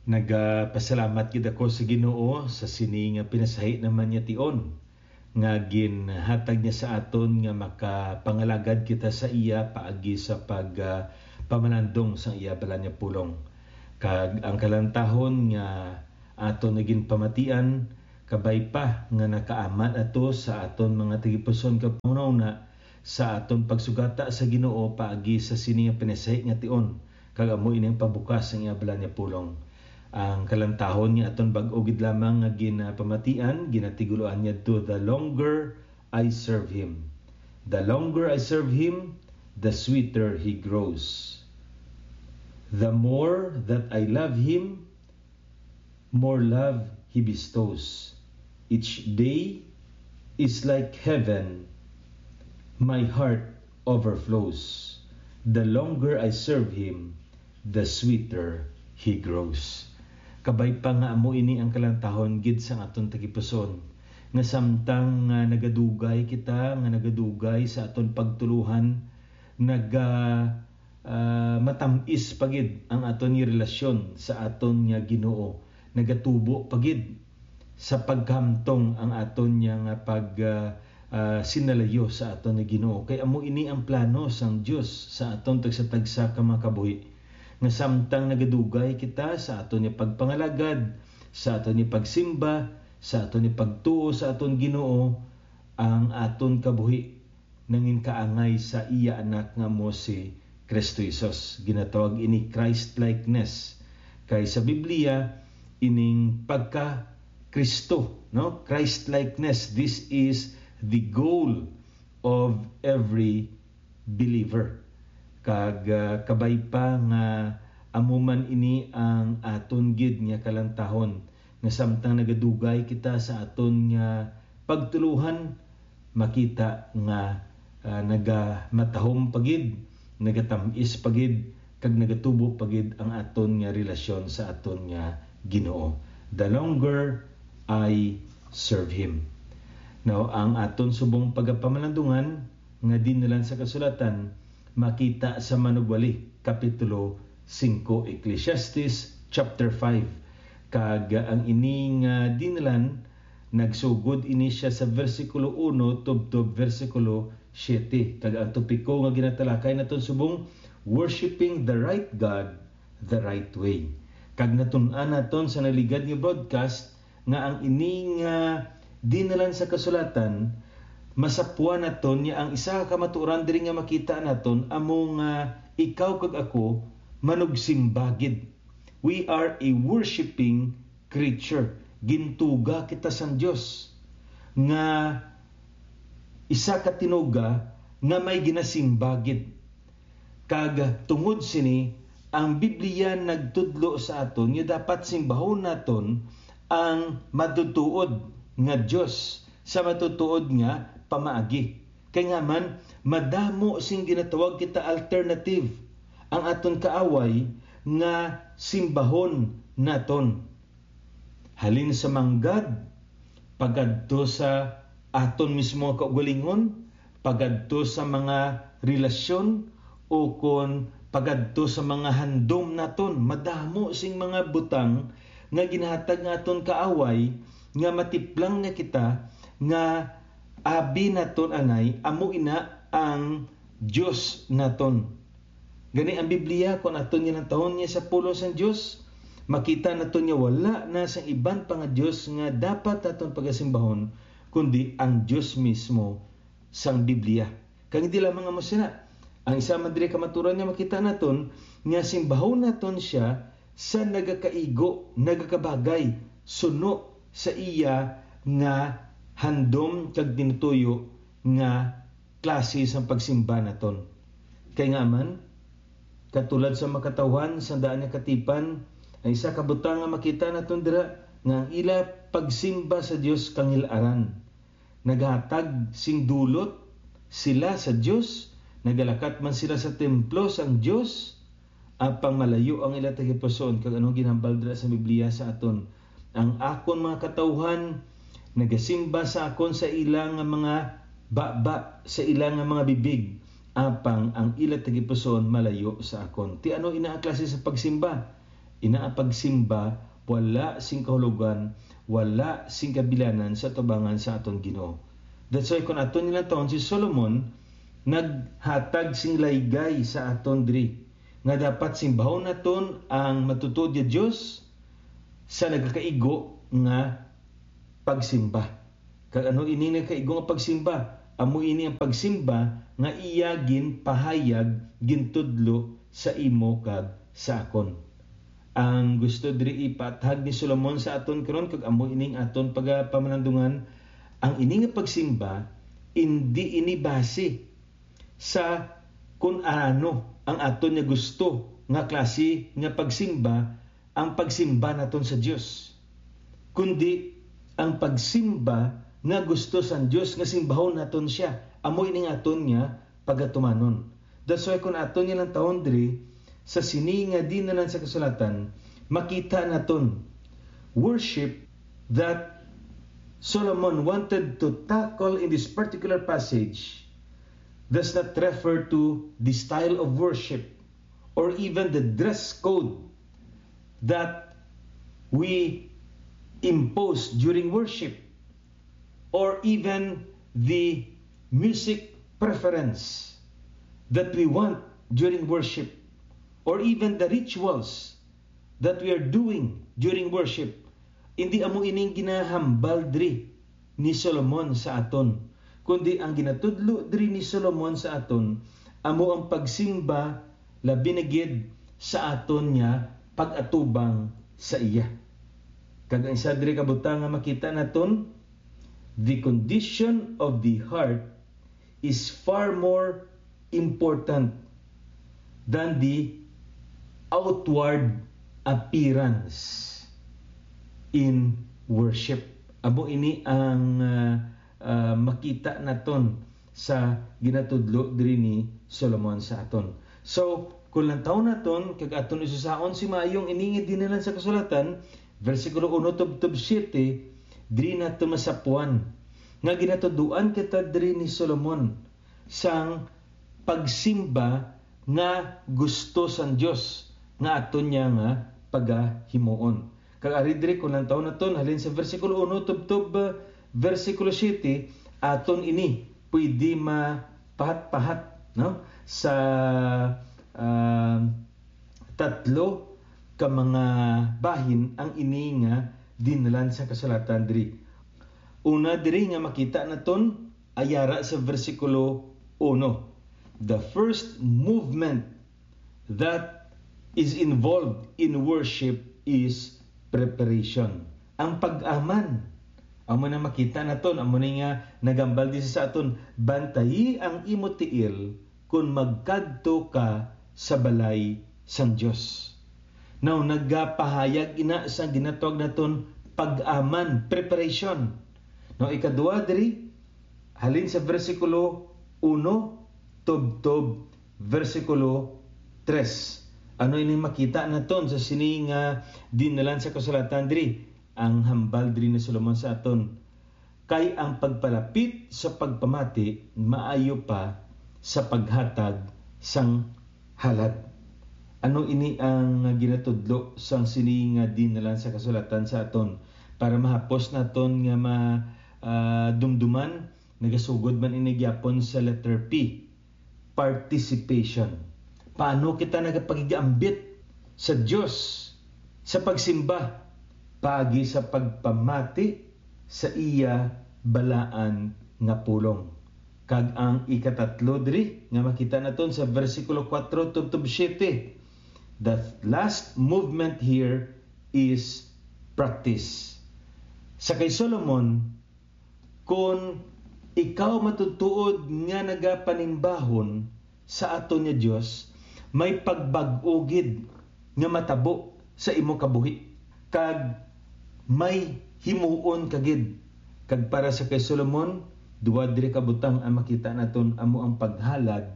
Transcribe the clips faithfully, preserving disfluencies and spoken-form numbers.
Nagapasalamat gid ako sa Ginoo sa sini nga pinasahi naman niya tion, nga ginhatag niya sa aton nga makapangalagad kita sa iya paagi sa pag, ah, pamalandong sa iya balaan nga pulong. Kag ang kalantahon nga aton nga ginpamatian, kabay pa nga nakaamat ato sa aton mga tagipuson kag panghunahuna sa aton pagsugata sa Ginoo paagi sa sini nga pinasahi nga tion, kag amo ini ang pagbukas sang iya balaan nga pulong. Ang kalantahon nga aton bag-o gid lamang nga ginapamatian, ginatiguloan niya to, "The longer I serve Him." The longer I serve Him, the sweeter He grows. The more that I love Him, more love He bestows. Each day is like heaven. My heart overflows. The longer I serve Him, the sweeter He grows. Kabay pa nga amo ini ang kalantahon gid sang aton tagipuson, nga samtang nga nagadugay kita, nga nagadugay sa aton pagtuluhan, naga, ah, matam-is pa gid ang aton nga relasyon sa aton nga Ginoo. Nagatubo pa gid sa pagkahamtong ang aton nga nga pag, ah, ah, sinalayo sa aton nga Ginoo. Kay amo ini ang plano sang Dios sa aton tagsa-tagsa ka mga kabuhi, nga samtang nagadugay kita sa aton nga pagpangalagad, sa aton nga pagsimba, sa aton nga pagtuo sa aton Ginoo, ang aton kabuhi nangin kaangay sa iya Anak nga amo si Kristo Jesus. Ginatawag ini Christ-likeness. Kay sa Biblia, ining pagka-Kristo, no? Christ-likeness, this is the goal of every believer. Kag, ah, kabay pa nga amo man ini ang aton gid nga kalantahon, nga samtang nagadugay kita sa aton nga pagtuluhan, makita nga, ah, nagamatahom pa gid, nagatam-is pa gid, kag nagatubo pa gid ang aton nga relasyon sa aton nga Ginoo. The longer I serve Him. Now, ang aton subong pagapamalandungan nga dinalan sa kasulatan makita sa Manugwali, Kapitulo singko, Ecclesiastes chapter five. Kag ang ini nga dinalan, nagsugod ini sia sa bersikulo uno tubtob bersikulo siete. Kag ang topiko nga ginatalakay naton subong, Worshiping the Right God the Right Way. Kag natun-an naton sa naligad nga broadcast nga ang ini nga dinalan sa kasulatan, masapwan naton nga ang isa ka kamatuoran diri nga makita naton amo nga ikaw kag ako manugsimba gid. We are a worshiping creature. Gintuga kita sang Dios nga isa ka tinuga nga may ginasimba gid. Kag tungod sini, ang Biblia nagtudlo sa aton nga dapat simbahon naton ang matutuod nga Dios sa matutuod nga pamaagi. Kay nga man, madamo sing ginatawag kita alternative ang aton kaaway nga simbahon naton. Halin sa manggad, pagadto sa aton mismo nga kaugalingon, pagadto sa mga relasyon, ukon pagadto sa mga handom naton. Madamo sing mga butang nga ginahatag nga aton kaaway, nga matiplang na kita nga abi naton anay, amo ina ang Dios naton. Gani ang Biblia, kung aton ginatahon niya sa pulong sang Dios, makita naton nga wala na sang iban pa nga Dios nga dapat naton pagasimbahon, kundi ang Dios mismo sang Biblia. Kag hindi lamang amo sina, ang isa man diri kamaturan nga makita naton nga simbahon naton siya sa nagakaigo, nagakabagay, suno sa iya nga handom kag tinutuyo nga klase sang pagsimba naton. Kay nga man, katulad sa makatawhan sa daan nga katipan, ang isa ka butang nga makita naton dira nga ang ila pagsimba sa Dios kangil-aran. Naghatag sing dulot sila sa Dios, nagalakat man sila sa templo sang Dios, apang malayo ang ila tagipusoon. Kag anong ginhambal dira sa Biblia sa aton? Ang akon mga katawhan nagasimba sa akon sa ila nga mga baba, sa ila nga mga bibig, apang ang ila tagipusoon malayo sa akon. Ti ano ina ang klase sa pagsimba? Ina ang pagsimba wala sing kahulogan, wala sing kabilanan sa atubangan sa aton Ginoo. That's why kung aton nilantawon, si Solomon naghatag sing laygay sa aton diri nga dapat simbahon naton ang matutuod nga Dios sa nagakaigo nga pagsimba. Kag ano ini nga kaigo nga pagsimba? Amo ini ang pagsimba nga iya ginpahayag, gintudlo sa imo kag sa akon. Ang gusto diri ipaathag ni Solomon sa aton karon, kag amo ining aton pagapamalandungan, ang ini nga pagsimba, indi ini base sa kun ano ang aton nga gusto nga klase nga pagsimba ang pagsimba naton sa Dios, kundi ang pagsimba nga gusto sang Dios nga simbahon naton siya, amo ining aton nga pagatumanon. That's why kung aton nga lantawon diri sa sini nga dinalan sa kasulatan, makita naton worship that Solomon wanted to tackle in this particular passage does not refer to the style of worship or even the dress code that we impose during worship or even the music preference that we want during worship or even the rituals that we are doing during worship. Hindi amo ining ginahambal diri ni Solomon sa aton, kundi ang ginatudlo diri ni Solomon sa aton amo ang pagsimba, labi na gid sa aton nga pag-atubang sa iya. Kag ang isa diri ka butang nga makita naton, the condition of the heart is far more important than the outward appearance in worship. Amo ini ang, ah, ah, makita naton sa ginatudlo diri ni Solomon sa aton. So, kung lantaw naton kag aton isusaon si maayong ini nga dinalan sa kasulatan, bersikulo uno tubtob siete, diri naton masapuan nga ginatuduan kita diri ni Solomon sang pagsimba nga gusto sang Dios nga aton niya nga pagahimuon. Kag ari diri, kung lantaw naton halin sa bersikulo uno tubtob, ah, bersikulo siete, aton ini pwede mapahat-pahat, no, sa, ah, tatlo ka mga bahin ang ini nga dinalan sa kasulatan diri. Una diri nga makita naton, ayara sa bersikulo uno, the first movement that is involved in worship is preparation. Ang pag-aman, amo na makita naton, amo ni nga nagambal din sa aton, bantayi ang imo tiil kon magkadto ka sa balay sang Dios. Now, nagapahayag ina sang ginatawag naton pag-aman, preparation. Now, ikadua diri, halin sa bersikulo uno tubtob bersikulo tres. Ano ini makita naton sa sini nga dinalan sa kasulatan diri? Ang hambal diri ni Solomon sa aton, kay ang pagpalapit sa pagpamati maayo pa sa paghatag sang halad. Ano ini ang ginatudlo sang sini nga dinalan sa kasulatan sa aton? Para mahapos naton nga ma-, ah, dumduman, nagasugod man ini gyapon sa letter P, participation. Paano kita nagapakig-ambit sa Dios sa pagsimba? Paagi sa pagpamati sa iya balaan nga pulong. Kag ang ikatatlo diri nga makita naton sa bersikulo kuwatro tubtob siyete, the last movement here is practice. Sa kay Solomon, kon ikaw matutuod nga nagapanimbahon sa aton nga Dios, may pagbag-o gid nga matabo sa imo kabuhi, kag may himuon ka gid. Kag para sa kay Solomon, duha diri ka butang ang makita naton, amo ang paghalad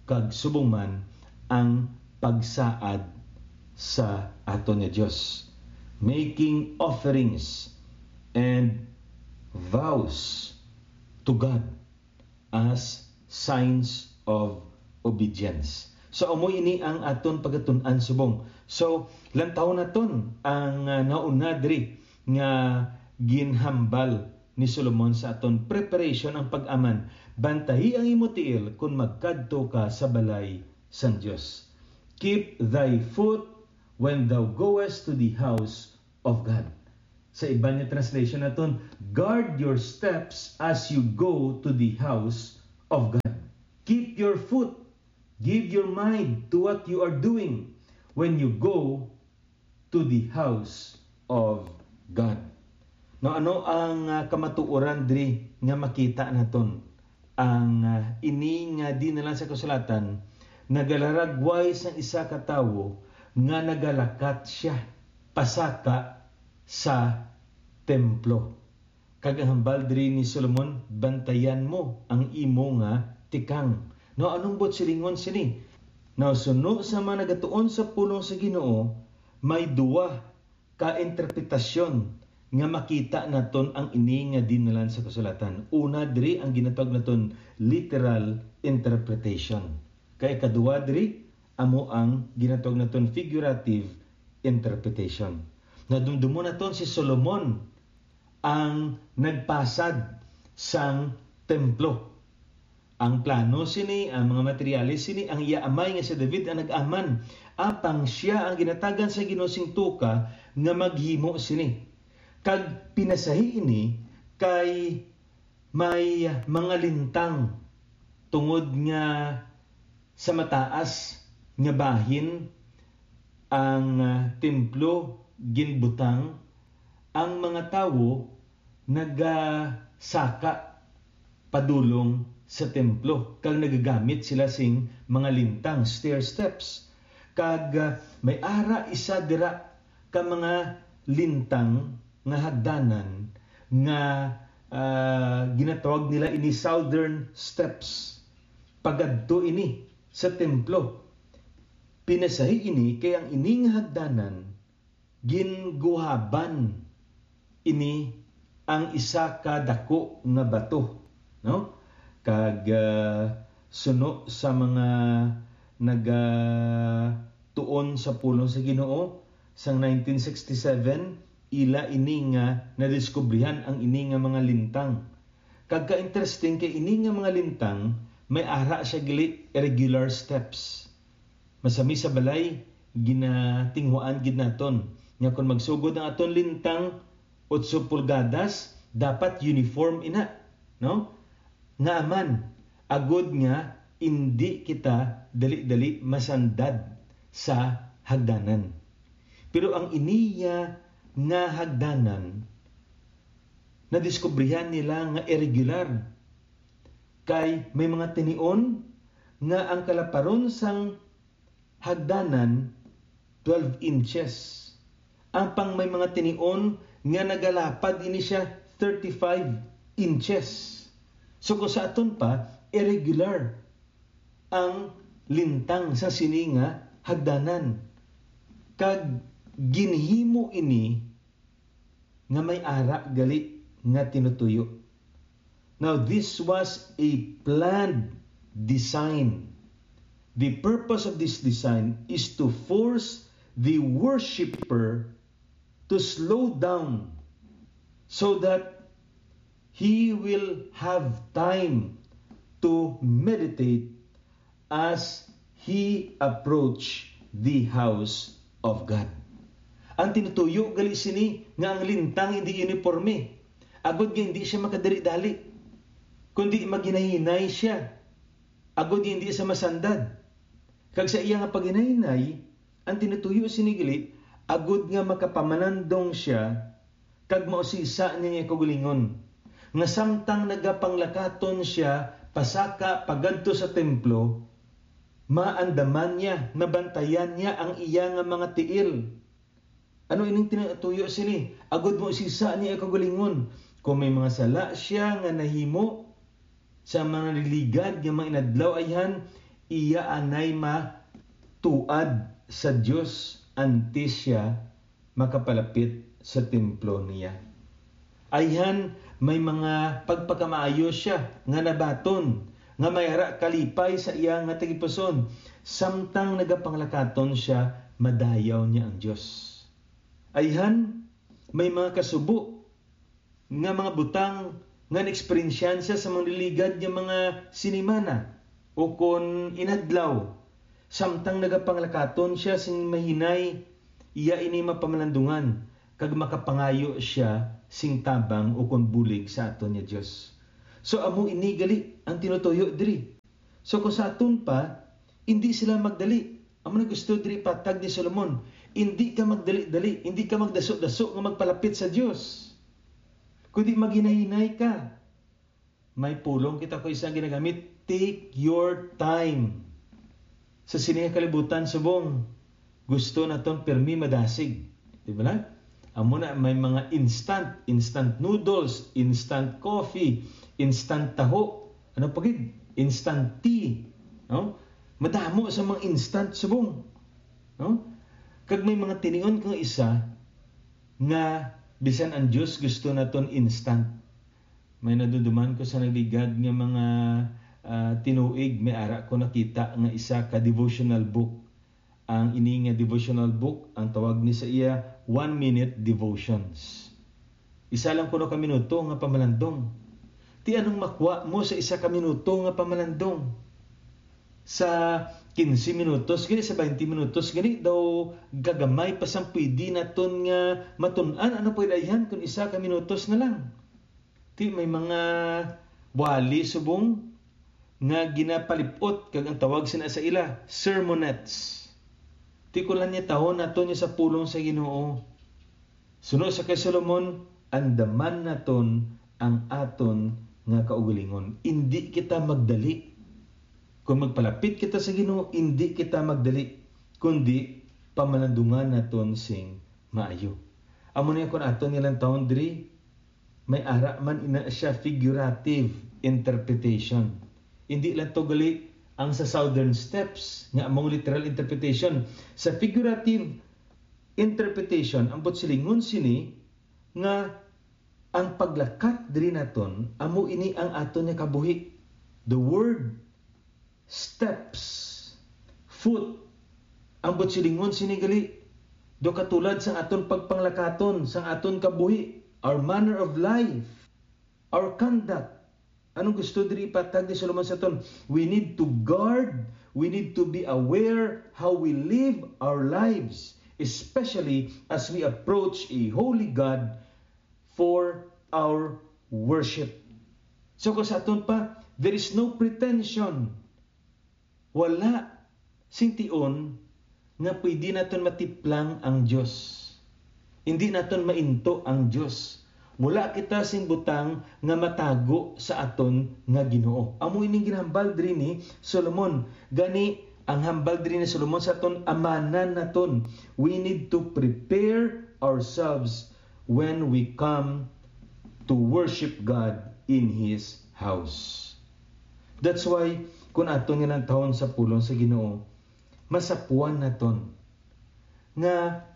kag subong man ang pagsaad sa aton nga Dios, making offerings and vows to God as signs of obedience. So, amo ini ang aton pagatun-an subong. So, lantawon naton ang, ah, nauna diri nga ginhambal ni Solomon sa aton preparation, ang pag-aman. Bantayi ang imo tiil kon magkadto ka sa balay sang Dios. Keep thy foot when thou goest to the house of God. Sa iban nga translation naton, guard your steps as you go to the house of God. Keep your foot, give your mind to what you are doing when you go to the house of God. Now, ano ang, ah, kamatuoran diri nga makita naton? Ang, ah, ini nga dinalan sa kasulatan nagalaragway sang isa ka tawo nga nagalakat sia pasaka sa templo. Kag ang hambal diri ni Solomon, "Bantayan mo ang imo nga tikang." Now, anong buot silingon sini? Now, suno sa mga nagatuon sa pulong sa Ginoo, may duwa ka interpretasyon nga makita naton ang ini nga dinalan sa kasulatan. Una diri ang ginatawag naton literal interpretation. Kay ikaduha diri amo ang ginatawag naton figurative interpretation. Nadumdumon naton si Solomon ang nagpasad sang templo. Ang plano sini, ang mga materyales sini, ang iya amay nga si David ang nag-aman. Apang sia ang ginatagan sa Ginoo sing tuka nga maghimo sini. Kag pinasahi ini kay may mga lintang, tungod nga sa mataas nga bahin ang, ah, templo ginbutang, ang mga tawo nagasaka padulong sa templo, kag nagagamit sila sing mga lintang, stair steps. Kag, ah, may ara isa dira ka mga lintang nga hagdanan nga, ah, ginatawag nila ini Southern Steps. Pagadto ini sa templo. Pinasahi ini kay ang ini nga hagdanan ginguhaban ini ang isa ka dako nga bato, no? Kag, ah, suno sa mga nagatuon sa pulong sa Ginoo, sang nineteen sixty-seven, ila ini nga nadiskubrihan ang ini nga mga lintang. Kag ka-interesting kay ini nga mga lintang, may ara siya gali irregular steps. Masami sa balay, ginatinguhaan gid naton nga kon magsugod ang aton lintang otso pulgadas, dapat uniform ina, no? Nga aman, agud nga indi kita dali-dali masandad sa hagdanan. Pero ang iniya nga hagdanan, nadiskubrihan nila nga irregular, kay may mga tinion nga ang kalaparon sang hagdanan twelve inches. Apang may mga tinion nga nagalapad ini siya thirty-five inches. So, kung sa aton pa, irregular ang lintang sa sini nga hagdanan. Kag ginhimo ini nga may ara gali nga tinutuyo. Now, this was a planned design. The purpose of this design is to force the worshipper to slow down so that he will have time to meditate as he approach the house of God. Ang tinutuyo gali sini nga ang lintang hindi uniforme, agod nga hindi siya makadali-dali, kundi maghinay-hinay siya, agod nga hindi siya masandad. Kag sa iya nga paghinay-hinay, ang tinutuyo sini gali, agod nga makapamanandong siya kag mausisa niya kaugalingon, nga samtang nagapanglakaton sia pasaka pagadto sa templo, maandaman niya, mabantayan niya ang iya nga mga tiil. Ano ining tinutuyo sini? Agud mausisa niya kaugalingon. Kon may mga sala sia nga nahimo sa mga naliligad nga mga inadlaw, ayhan, iya anay matuad sa Dios antes sia makapalapit sa templo niya. Ayhan, may mga pagpakamaayo sia nga nabaton, nga may ara kalipay sa iya nga tagipusoon. Samtang nagapanglakaton sia, madayaw niya ang Dios. Ayhan, may mga kasubo nga mga butang nga naeksperyensyahan siya sa mga nagligad nga mga sinimana ukon inadlaw. Samtang nagapanglakaton sia sing mahinay, iya ini mapamalandungan, kag makapangayo sia sing tabang ukon bulig sa aton nga Dios. So, amo ini gali ang tinutuyo diri. So, kung sa aton pa, indi sila magdali. Amo na gusto diri patag ni Solomon. Indi ka magdali-dali, indi ka magdaso-daso nga magpalapit sa Dios. Kundi maghinay-hinay ka. May pulong kita ko isang ginagamit, "Take your time." Sa sini nga kalibutan, subong, gusto naton pirmi madasig. Di ba na? Amo na, may mga instant, instant noodles, instant coffee, instant taho, ano pa gid? Instant tea, no? Madamo sa mga instant, subong, no? Kag may mga tinion kang isa nga bisan ang Dios gusto naton instant. May naduduman ko sa nagligad nga mga, ah, tinuig, may ara ko nakita nga isa ka devotional book. Ang ini nga devotional book, ang tawag ni sa iya, One Minute Devotions. Isa lang kuno ka minuto nga pamalandong. Ti anong makwa mo sa isa ka minuto nga pamalandong? Sa quince minutos gani, sa twenty minutos gani, daw gagamay pa sang pwede naton nga matun-an. Ano pwede ayhan kung isa ka minutos na lang? Ti may mga wali subong nga ginapalip-ot, kag ang tawag sina sa ila, sermonettes. Ti kulang niya tahon naton niya sa pulong sa Ginoo. Suno sa kay Solomon, andaman naton ang aton nga kaugalingon. Indi kita magdali. Kung magpalapit kita sa Ginoo, indi kita magdali, kundi pamalandungan naton sing maayo. Amo na kon aton nga lantawon diri, may ara man ina siya figurative interpretation. Indi lang to gali ang sa Southern Steps nga among literal interpretation. Sa figurative interpretation, ang buot silingon sini nga ang paglakat diri naton, amo ini ang aton nga kabuhi. The word steps, foot, ang buot silingon sini gali, do katulad sang aton pagpanglakaton, sang aton kabuhi, our manner of life, our conduct. Anong gusto diri ipatag ni Solomon sa aton? We need to guard, we need to be aware how we live our lives, especially as we approach a holy God for our worship. So, kung sa aton pa, there is no pretension. Wala sing tion nga pwede naton matiplang ang Dios. Hindi naton mainto ang Dios. Wala kita sing butang nga matago sa aton nga Ginoo. Amo ining ginahambal diri ni Solomon. Gani, ang hambal diri ni Solomon sa aton, amanan naton. We need to prepare ourselves when we come to worship God in His house. That's why, kung aton nga nantahon sa pulong sa Ginoo, masapuan naton nga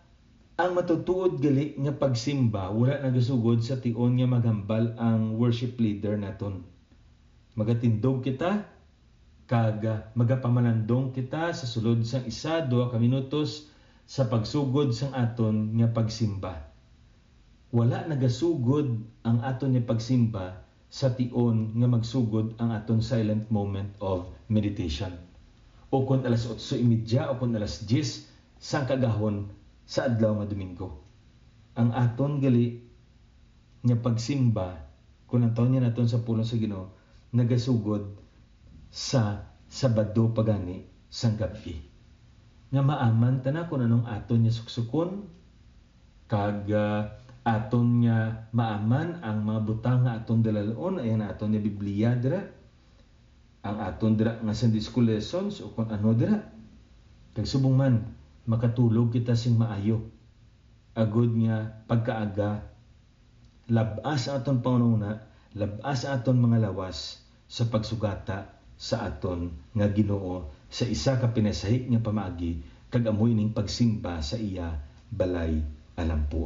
ang matutuod gali nga pagsimba wala nagasugod sa tion nga maghambal ang worship leader naton. Magatindog kita, kag, ah, magapamalandong kita sa sulod sang isa, duha ka minutos sa pagsugod sang aton nga pagsimba. Wala nagasugod ang aton nga pagsimba sa tion nga magsugod ang aton silent moment of meditation, o kon alas otso y media o kon alas diyes sang kaagahon sa adlaw nga Domingo. Ang aton gali nga pagsimba, kung ang tawon niya naton sa pulong sa Ginoo, nagasugod sa Sabado pa gani sang gab-i, nga maaman ta na kung anong aton niya suksukon, kag, ah, aton niya maaman ang mga butang nga aton dalal-on, ay ang aton niya Biblia dira, ang aton dira nga Sunday school lessons, o kon ano dira. Kag subong man, makatulog kita sing maayo, agud nga pagkaaga, lab-as ang aton panghunahuna, lab-as ang aton mga lawas sa pagsugata sa aton nga Ginoo sa isa ka pinasahi nga pamaagi, kag amo ining pagsimba sa iya balay alampo.